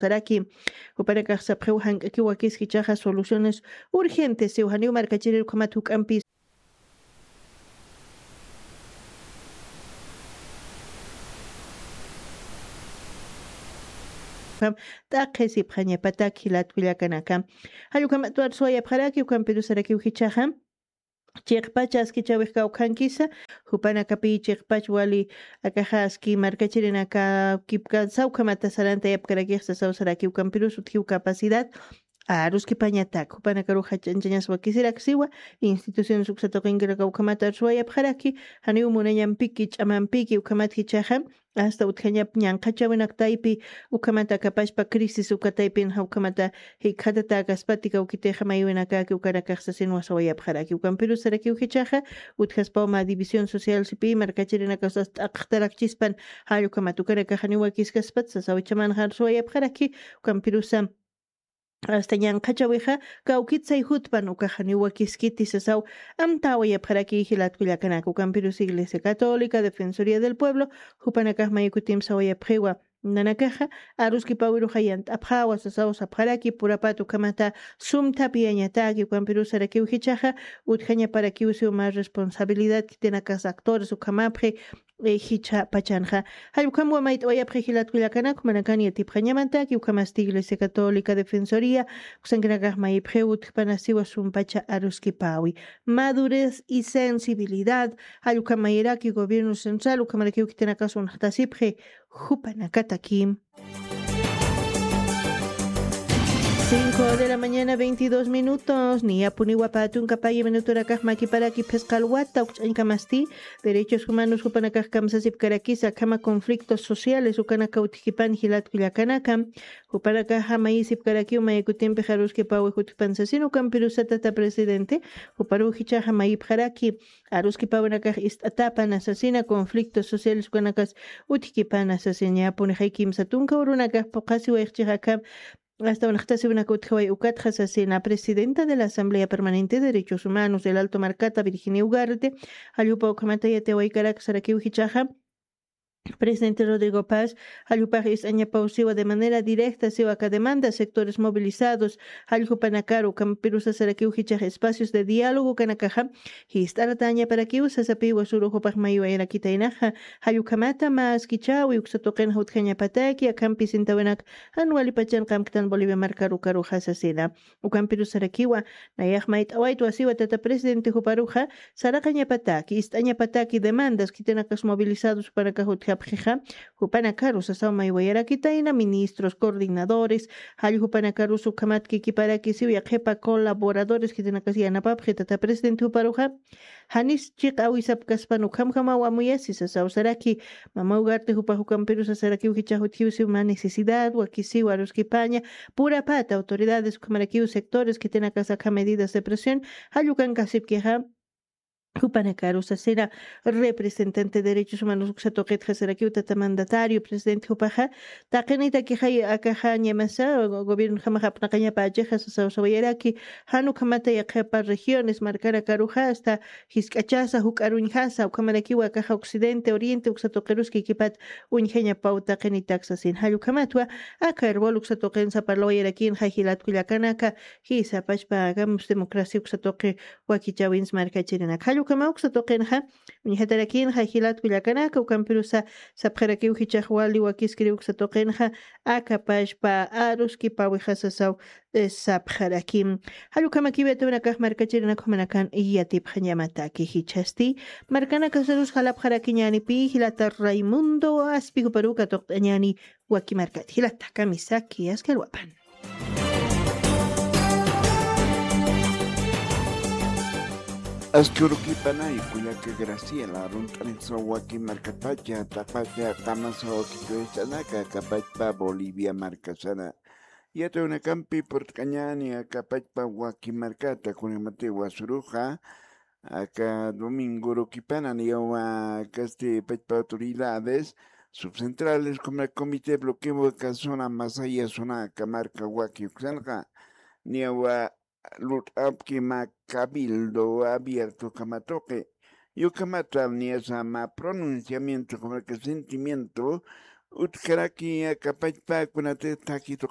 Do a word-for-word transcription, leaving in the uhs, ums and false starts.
saraki. Jupanakax sapxiw jank'akiw wakiski ichaxa soluciones urgentes siw janiw markachirir ukhamat juk'ampis. T'aqhisipxañapatak jilat kullakanaka. Jallukhamat warsuwayapxaraki ukampirusarakiw jichaxa chiqpach askichawix kawkhankisa. Jupanakapi chiqpach wali akaxa aski markachirinaka kipkansa ukhamata sarantayapkarakix sasaw saraki ukampirus utjiw capacidad aruskipañatak jupanakarux jach'anchañas wakisiraksiwa. Instituciones uksatuqinkiraka ukhamata arsuwayapxaraki janiw munañampiki ch'amampiki ukhamat jichaxa asta utjañap ñanqhachawinaktaypi ukhamata akapachpa crisis ukataypinxa ukhamata jikxatatäkaspati kawkitixa maywinakaki ukanakax sasin wasawayapxaraki ukampirusarakiw jichaxa utjaspaw mä división social sipi markachirinakaw sas t'aqxtarakchispan. Jall ukhamat ukanakaxa niwakiskaspat sasawichamanxa arsuwayapxaraki ukampirusa asta ñanqhachawixa kawkitsay jutpan ukaxa niwakiskiti sasaw amtawayapxaraki jilat kullakanaka ukampirus iglesia católica defensoría del pueblo jupanakax maykutim sawayapxiwa. Nanakaxa aruskipawiruxa yant'apxawa sasaw sapxaraki purapat ukhamata sumthapiyañataki ukampirusarakiw jichaxa utjañaparakiw siw mä responsabilidad khitinakas actores ukhamapxi. Jichha pachanxa jallukhamwa mayt'awayapxi jilat kullakanaka jumanakan yatipxañamataki ukhamasti iglesia católica defensoría uksankinakax mayipxiw utjpanasiwa sumpacha aruskipawi madurez y sensibilidad. Jallukham mayiraki gobierno central ukhamarakiw khitinakas unxtasipxi jupanakataki. Cinco de la mañana, veintidós minutos. Niyapuniwa patunka paya minutorakax makiparaki phisqa alwata ukch'añkamasti derechos humanos jupanakax kamsasipkarakisa akhama conflictos sociales ukanaka utjkipan jilat kullakanaka. Jupanakaxa mayisipkarakiw mayakutimpix aruskipawi jutjpan sasin ukampirusa tata presidente juparuw jichaxa mayipxaraki aruskipawinakax ist'atapan asasina conflictos sociales ukanakas utjkipan asasina. Punixay kimsa tunka urunakax puqasiwayxchix akham asta unxtasiwinaka utjaway ukatxa sasina presidenta de la Asamblea Permanente de Derechos Humanos del Alto Marcata Virginia Ugarte jallupa ukhamata yatiwaykarak sarakiw jichaxa presidente Rodrigo Paz jallupax ist'añapaw siwa de manera directa siwa aka demanda sectores movilizados jalljupanakaru kampirusa sarakiw jichax espacios de diálogo kanakaxa jist'aratañaparakiw sasapiwa suruxupax maywayarakitaynaxa jallukhamata mä askichäwi uksa tuqinxa utjañapataki akhampi sintawinak jan walipachan qamktan Bolivia markarukaruxa sasina. Ukampirusarakiwa nayax mayt'awaytwa siwa tata presidente juparuxa saraqañapataki ist'añapataki demandas khitinakas movilizados jupanakax utjapxixa jupanakaru sasaw maywayarakitayna ministros coordinadores jall jupanakarus ukhamat kikiparaki siw yaqhipa colaboradores khitinakas yanapapxi tata presidente juparuxa janis chiqa awisapkaspan ukhamjamaw amuyasi sasaw saraki. Mama ugarte jupax ukampirusa sarakiw jichax utjiw siw mä necesidad wakisiw aruskipaña purapata autoridades ukhamarakiw sectores khitinakas akha medidas de presión jallukankasipkixa jupanakaru sasina representante derechos humanos uksa tuqitxa sarakiw tata mandatario presidente jupaxa taqinitakixay akaxa ñamasa gobierno jamax apnaqañapächixa sasaw sawayaraki jan ukhamata yaqhipa regiones markanakaruxa asta jisk'achasa juk'aruñjasa ukhamarakiwa akaxa occidente oriente uksa tuqirus kikipat uñjañapaw taqinitak sasin jallukhamatwa aka herbol uksa tuqinsa parlawayarakinxa jilat kullakanaka jisa pachpa gamos democracia uksa tuqi wakichawins markachirinak jallukhama uksa tuqinxa uñjatarakinxa jilat kullakanaka ukampirusa sapxarakiw jichax wali wakiskiriw uksa tuqinxa aka pachpa aruskipawixa sasaw sapxaraki. Jallukhamakiw yatiwinakax markachirinak jumanakan yatipxañamataki jichhasti markanakasarus jalapxarakiñänipi jilata Raimundo aspi juparuw katuqt'añäni waki markat jilata kamisaki askalwapan. Askurukipana y kullaka Graciela runt'anisa waki markatacha tapacha qamasa wakituwisanaka kapachpa Bolivia markasana yatawinakampi purt'kañani akapachpa waki markata kunimati wasuruxa aka domingo rukipana niyawa kasti pachpa autoridades subcentrales como comité bloqueo kasuna masaya suna aka marka waki uksanqa niyawa lut'apki ma cabildo abierto kamatuqi yukamata niyasa ma pronunciamiento como que sentimiento utkaraki aka pachpa kunati taki